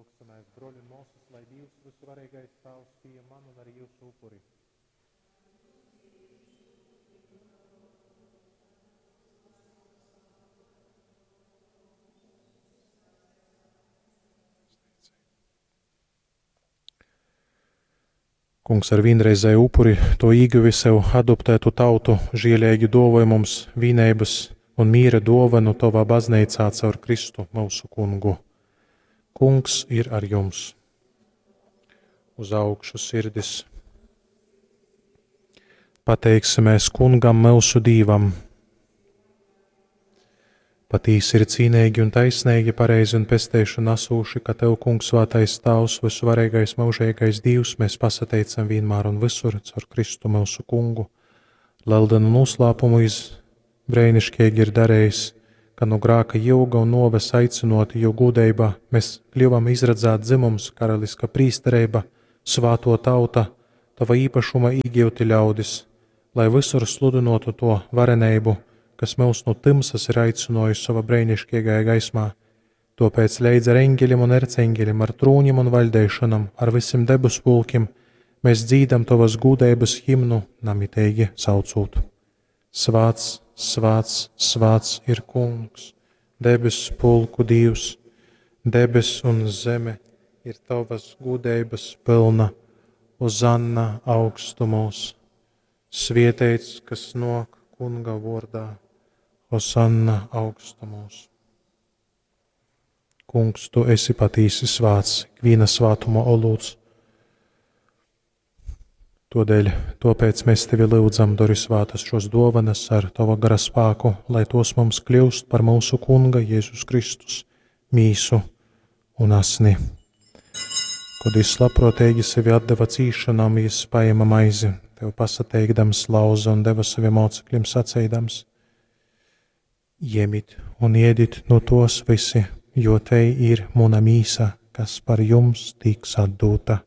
Lyugsimēs, broļi un mōsas, lai Dīvs, vysuvareigais Tāvs, pījem manu un arī jyusu upuri. Kungs ar vīnreizēju upuri to īguvi sev adoptētu tautu, žieleigi dōvoj mums vīneibys un mīra dōvanu tovā bazneicā caur Kristu myusu Kungu. Kungs ir ar jums! Uz augšu sirdis! Pateiksimies Kungam myusu Dīvam! Patīsi ir cīneigi un taisneigi, pareizi un pesteišonu asūši, ka Tev, Kungs, svātais Tāvs, vysuvareigais myužeigais Dīvs, mēs pasateicam vienmēr un visur caur Kristu myusu Kungu. Leldenu noslēpumu iz breiniškeigi ir darījis, ka nu grāka jūga un nuoves aicynoti jo gūdeibā mēs kļuvam izradzāt dzimums, karaliska prīstereiba, svāto tauta, tava īpašuma īgyuti ļaudis, lai visur sludynotu to vareneibu, kas mūs no tymsas ir aicinājis savā breinišķīgajā gaismā. Tāpēc leidz ar eņģeļiem un erceņģeļiem, ar trūņiem un vaļdeišanam, ar visiem debesu pulkiem, mēs dzīdam tavas gūdeibas himnu, namiteigi saucūt. Svāts, svāts, svāts ir Kungs, debesu pulku Dīvs, debes un zeme ir tavas gūdeibas pilna, Ozanna augstumos. Svieteits, kas nok Kunga vordā, Hosanna augstumos. Kungs, tu esi patīsi svāts, ikviena svātuma olūts. Todēļ, tāpēc mēs tevi lūdzam, dori svātas šos dovanas ar tava gara spēku, lai tos mums kļūst par mūsu Kunga Jēzus Kristus mīsu un asni. Kad jis labprātīgi sevi atdeva cīšanām, jis paēma maizi, tev pasateikdams lauza un deva saviem mocekļiem sacīdams: Iemit un iedit no tos visi, jo te ir muna mīsa, kas par jums tiks atdota.